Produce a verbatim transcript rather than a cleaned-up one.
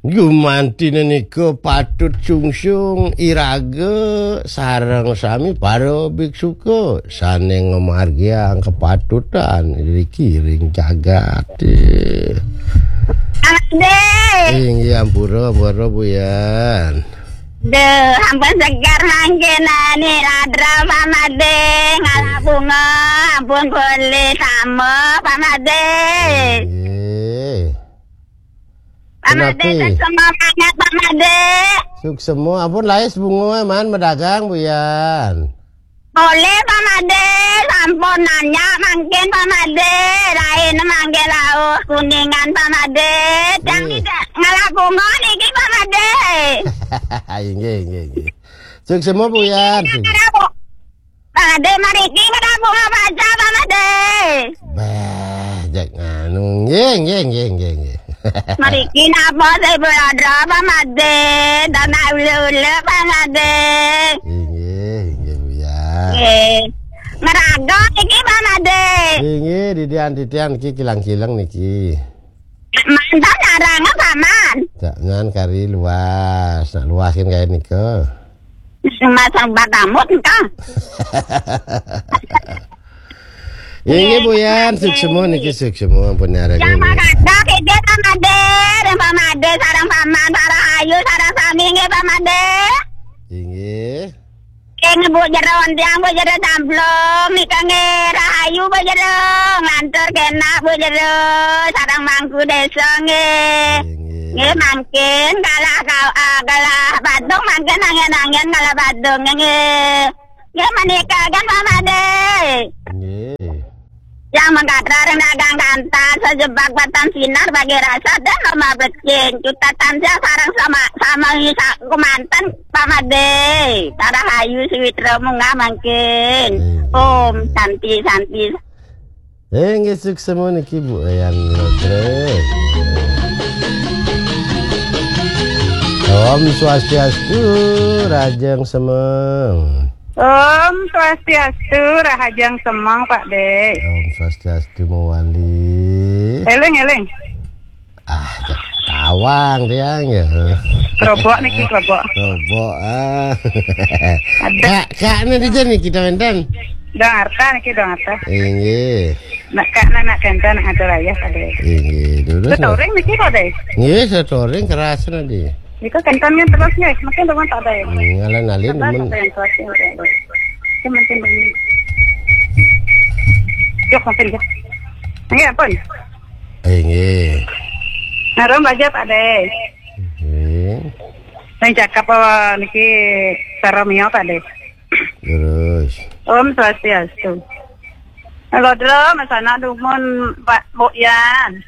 Gumantina nika patut sungsung iraga sareng sami para biksuka sane ngamargiang kapatutan iriki ring jagate. Ade. Inggih ampura, ampura Buyan. Duh, ampun seger mangkin ani ladra Pak Made, ngalap bunga, ampun boleh sama Pak Made. Inggih. Pak Made, kenapa? Suksema banget Pak Made. Suksema, ampun lais bunga man madagang Buyan. Boleh Pak Made, sampun nanya mangkin Pak Made, lain mangke lauh kuningan Pak Made. Jang nggih. Tidak ngalap bunga niki Pak Made. Inggih, inggih, inggih. Suksema Buyan. Niki ngalap bu-, Pak Made mariki ngalap bunga baca Pak Made. Bah, jak nganu. Nggih, nggih, nggih, nggih, nggih. Mariki napa sih Buladra Pak Made? Tanah ule-ule Pak Made. Inggih, inggih Buyan. Nggih. Ngeraga iki Pak Made. Inggih, didian-didian iki kilang-kilang niki. Mantan arang apa man? Jangan kari luas. Nak luas kan kaya nika. Masang batamut engkau. Inggih Buyan, suksema niki suksema ampun nyarang. Yang ini. Makada kejut Pak Made, Pak Made sarang paman, sarang ayu, sarang sami nggih Pak Made. Inggih. Ing Bu Jero Ontiang, Bu Jero Camplung, nika nggih rahayu Bu Jero, nglantur kenak Bu Jero, sareng mangku desa nggih. Nggih. Nggih, mangkin kalah kau, ah, kalah Badung mangkin angin-angin kalah Badung nggih. Nggih, menika kan Pak Made. Nggih. Yang mengkatra ring dagang kantan, sejebak batan sinar bagi rasa dan lomba becing. Cuta tansah sareng sama, sama ngisa kumanten Pak Made. Tara hayu sawitra munggah mangkin. Om Santi, Santi. Inggih suksema niki Bu Yan Lotre. Om Swastiastu, Rajang Semeng. Om Swastiastu, Rahajeng Semeng, Pak De. Om Swastiastu, Mawali. Eling, eling. Ah, tawang tiang ya. Kerobok niki, kerobok. Kerobok, ah. Ada. Kak, kak, ini dia nih kita wenten. Dong Arta niki, Dong Arta. Inggih. Nak kak, nak, nak kenten, nak ngatur ayah, Pak De. Inggih, terus. Setoring niki, Pak De. Inggih, setoring keras nanti. Niku kentennya terus nggih, mungkin rumah tak ada ya. Hmm, ngalih-ngalih. Sabar, nemen. Sabar yang kuat ya, Pak. Itu mungkin begini. Yuk, mungkin ya. Nggih, ampun. Eh, nggih. Narum baja Pak De. Nggih. Nang cakap apa niki saramiya Pak De. Terus. Om Swastiastu. Halo, Dro, Mas Anak dumun Pak Bukyan.